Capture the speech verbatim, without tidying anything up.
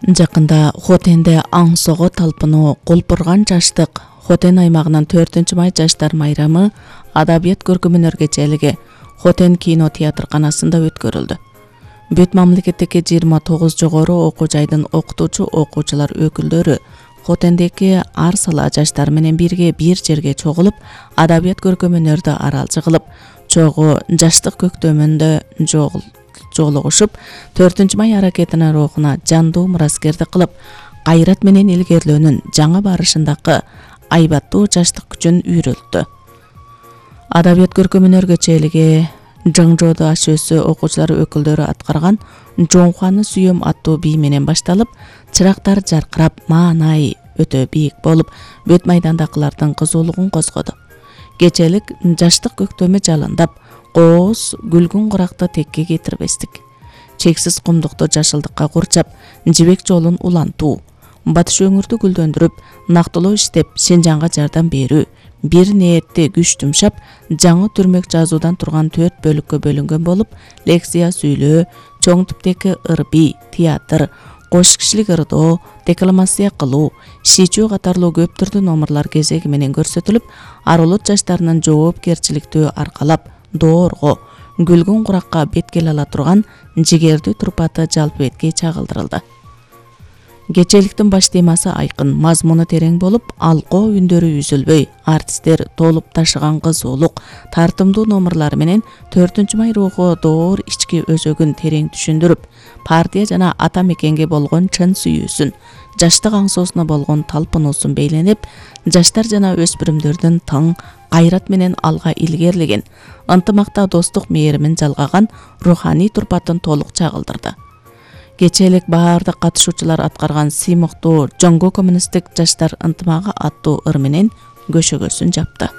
Жакында Хотенде аң сого талпынуу Кулпурган жаштык Хотен аймагынын төртүнчү май жаштар майрамы адабият көркөм-өнөр кечелиги Хотен кино театрканасында өткөрүлдү. Бүт мамлекеттеги жыйырма тогуз жогору окуу жайдын окутуучу окуучулар өкүлдөрү Хотендеги ар сала жаштар менен бирге бир жерге чогулуп, адабият көркөм-өнөрдү аралчы кылып, чогуу жаштык көктөмүндө жолугушуп, төртүнчү май аракетинин рухуна жандуу мураскердик кылып, кайрат менен илгерилөөнүн жаңы барышындагы айбаттуу жаштык күчүн үйрөлттү. Адабият көркөм-өнөр кечелиги Жыңжоодо аш өсү окуучулар өкүлдөрү аткарган Жоңхуаны сүйөм аттуу бий менен башталып, чырактар жаркырап, маанай өтө бийик болуп, бүт майдандагылардын кызуулугун козгоду. Кечелик жаштык көктөмү жалындап, кооз күлгүн куракты текке кетирбестик. Чексиз кумдукту жашылдыкка курчап, жибек жолун улантуу, батыш өңүрдү гүлдөндүрүп, нактылоо иштеп, Синжанга жардам берүү, бир ниетти күч жумшап, жаңы түрмөк жазуудан турган төрт бөлүккө бөлүнгөн болуп, лекция сүйлөө, чоң типтеги ыр-бий, театр, кош кишилик ырдоо, декламация кылуу, шичүү катарлуу көп түрдүү номурлар кезеги менен көрсөтүлүп, ар улут жаштарынын жоопкерчиликтүү аркалап, доорго, күлгүн куракка бет келе ала турган жигердүү турпаты жалпы бетке чагылдырылды. Кечеликтин баш темасы айкын, мазмуну терең болуп, алкоо үндөрү үзүлбөй, артисттер толуп ташыган кызуулук, тартымдуу номурлары менен төртүнчү май руху доор ички өзөгүн терең түшүндүрүп, партия жана ата мекенге болгон чын сүйүүсүн, жаштык аңсоосуна болгон талпынуусун бейнелеп, жаштар жана өспүрүмдөрдүн тың кайрат менен алга илгерилеген, ынтымакта достук мээримин жалгаган руханий турпатын толук чагылдырды. Кечелик баардык катышуучулар аткарган сыймыктуу Жоңго коммунисттик жаштар ынтымагы аттуу ыр менен көшөгөсүн жапты.